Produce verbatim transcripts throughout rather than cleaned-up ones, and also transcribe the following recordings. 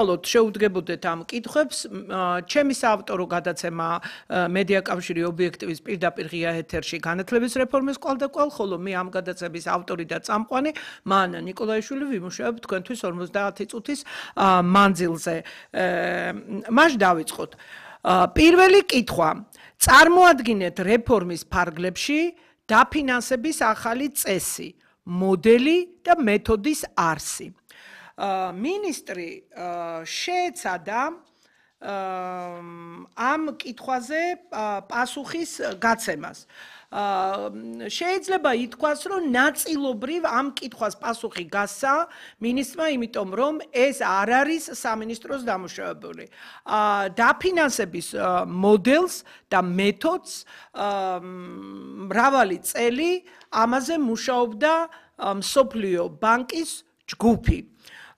ალბათ შეუდგებოდეთ ამ კითხვებს. ჩემი საავტორო გადაცემა მედია კავშირი ობიექტივის პირდაპირ ღია ეთერში განათლების რეფორმის კვალდაკვალ, ხოლო მე ამ გადაცემის ავტორი და წამყვანი მანა ნიკოლაიშვილი ვიმუშავებ თქვენთვის ორმოცდაათი წუთის მანძილზე. მაშ დავიწყოთ. პირველი კითხვა. წარმოადგინეთ რეფორმის ფარგლებში დაფინანსების ახალი წესი, მოდელი და მეთოდის არსი. მინისტრი შეეცადა ამ კითხვაზე პასუხის გაცემას. შეიძლება ითქვას, რომ ნაწილობრივ ამ კითხვას პასუხი გასცა მინისტრმა, იმიტომ რომ ეს არ არის სამინისტროს დამუშავებული. დაფინანსების მოდელს და მეთოდს მრავალი წელი ამაზე მუშაობდა მსოფლიო ბანკის ჯგუფი.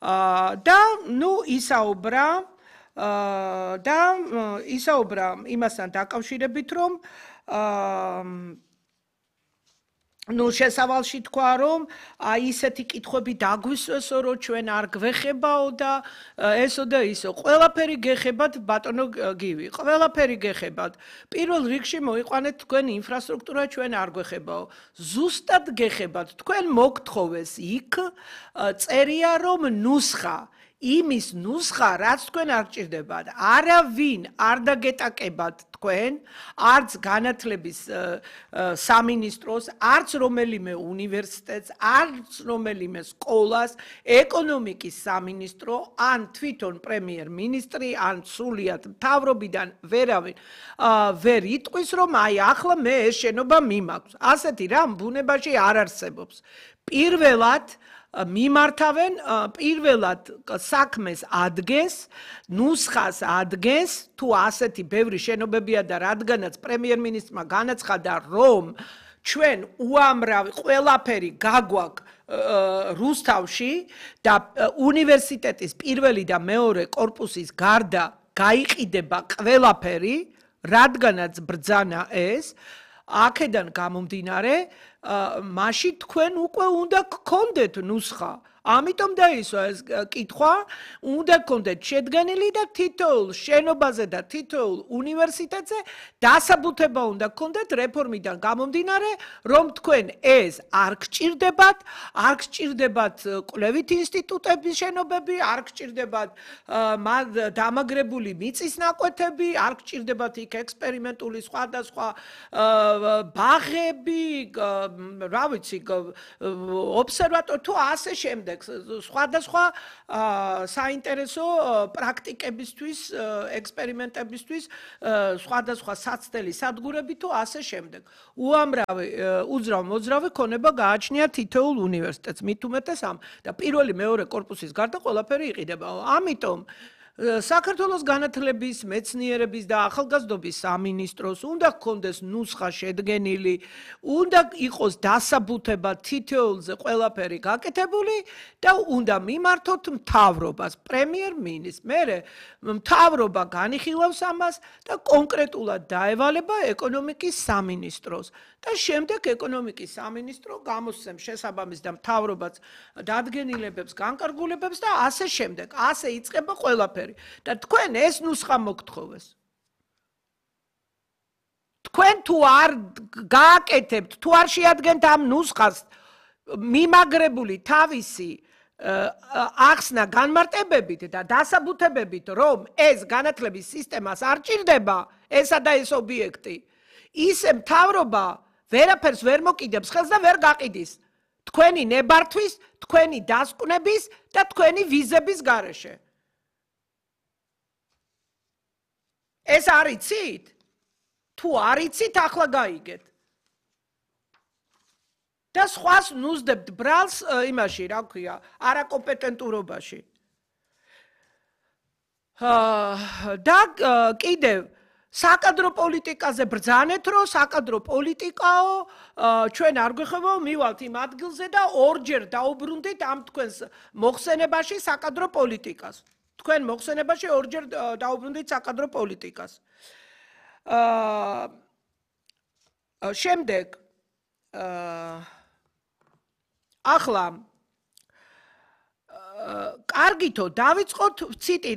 და ნუ ისაუბრა და ისაუბრა იმასთან დაკავშირებით, რომ ნუ შესავალში თქვა, რომ აი ისეთი კითხვები დაგვისვესო, რომ ჩვენ არ გვეხებაო და ესო და ისო. ყველაფერი გეხებათ ბატონო გივი, ყველაფერი გეხებათ. პირველ რიგში მოიყვანეთ თქვენ ინფრასტრუქტურა, ჩვენ არ გვეხებაო. ზუსტად გეხებათ, თქვენ მოგთხოვეს იქ წერია, რომ ნუსხა იმის ნუსხა, რაც თქვენ არ გჭირდებათ. არავინ არ დაგეტაკებათ თქვენ, არც განათლების სამინისტროს, არც რომელიმე უნივერსიტეტს, არც რომელიმე სკოლას, ეკონომიკის სამინისტრო, ან თვითონ პრემიერ-მინისტრი, ან სრულიად მთავრობიდან ვერავინ ვერ იტყვის, რომ აი ახლა მე ეს შენობა მიმაქვს. ასეთი რამ ბუნებაში არ არსებობს. პირველად მიმართავენ, პირველად საქმეს ადგენს, ნუსხას ადგენს, თუ ასეთი ბევრი შენობებია და რადგანაც პრემიერ-მინისტრმა განაცხადა, რომ ჩვენ უამრავი ყველაფერი გაგვაქვს რუსთავში და უნივერსიტეტის პირველი და მეორე კორპუსის გარდა გაიყიდება ყველაფერი, რადგანაც ბრძანა ეს, აქედან გამომდინარე, მაშინ თქვენ უკვე უნდა გქონდეთ ნუსხა. ამიტომ დაისვა ეს კითხვა, უნდა გქონდეთ შედგენილი და თითოეულ შენობაზე და თითოეულ უნივერსიტეტზე დასაბუთება უნდა გქონდეთ რეფორმიდან გამომდინარე, რომ თქვენ ეს არ გჭირდებათ, არ გჭირდებათ კვლევით ინსტიტუტების შენობები, არ გჭირდებათ დამაგრებული მიწის ნაკვეთები, არ გჭირდებათ იქ ექსპერიმენტული სხვადასხვა ბაღები, რა ვიცი, ობსერვატორი თუ ასე შემდეგ. სხვადასხვა საინტერესო პრაქტიკებისთვის, ექსპერიმენტებისთვის, სხვადასხვა საცდელი სადგურები თუ ასე შემდეგ. უამრავი უძრავ მოძრავი ქონება გააჩნია თითოეულ უნივერსიტეტს, მით უმეტეს ამ და პირველი მეორე კორპუსის გარდა ყველაფერი იყიდება. ამიტომ საქართველოს განათლების, მეცნიერების და ახალგაზრდობის სამინისტროს უნდა გქონდეს ნუსხა შედგენილი, უნდა იყოს დასაბუთება თითოეულზე ყველაფერი გაკეთებული და უნდა მიმართოთ მთავრობას, პრემიერ-მინისტრს. მერე მთავრობა განიხილავს ამას და კონკრეტულად დაევალება ეკონომიკის სამინისტროს. და შემდეგ ეკონომიკის სამინისტრო გამოსცემს შესაბამის და მთავრობაც დადგენილებებს, განკარგულებებს და ასე შემდეგ. ასე იწყება ყველაფერი. და თქვენ ეს ნუსხა მოგთხოვეს. თქვენ თუ არ გააკეთებთ, თუ არ შეადგენთ ამ ნუსხას მიმაგრებული თავისი ახსნა განმარტებებით და დასაბუთებებით, რომ ეს განათლების სისტემას არ ჭირდება, ესა და ეს ობიექტი, ისე მთავრობა ვერაფერს ვერ მოკიდებს ხელს და ვერ გაყიდის თქვენი ნებართვის, თქვენი დასკვნების და თქვენი ვიზების გარეშე. ეს არ იცით? თუ არ იცით, ახლა გაიგეთ. და სხვას ნუზდებთ ბრალს იმაში, რა ქვია, არაკომპეტენტურობაში. და კიდევ საკადრო პოლიტიკაზე ბრძანეთ, რომ საკადრო პოლიტიკაო, ჩვენ არ გვეხებაო, მივალთ იმ ადგილზე და ორჯერ დაუბრუნდით ამ თქვენს მოხსენებაში საკადრო პოლიტიკას. თქვენ მოხსენებაში ორჯერ დაუბრუნდით საკადრო პოლიტიკას. შემდეგ ახლა კარგითო დავიწყოთ ციტირება.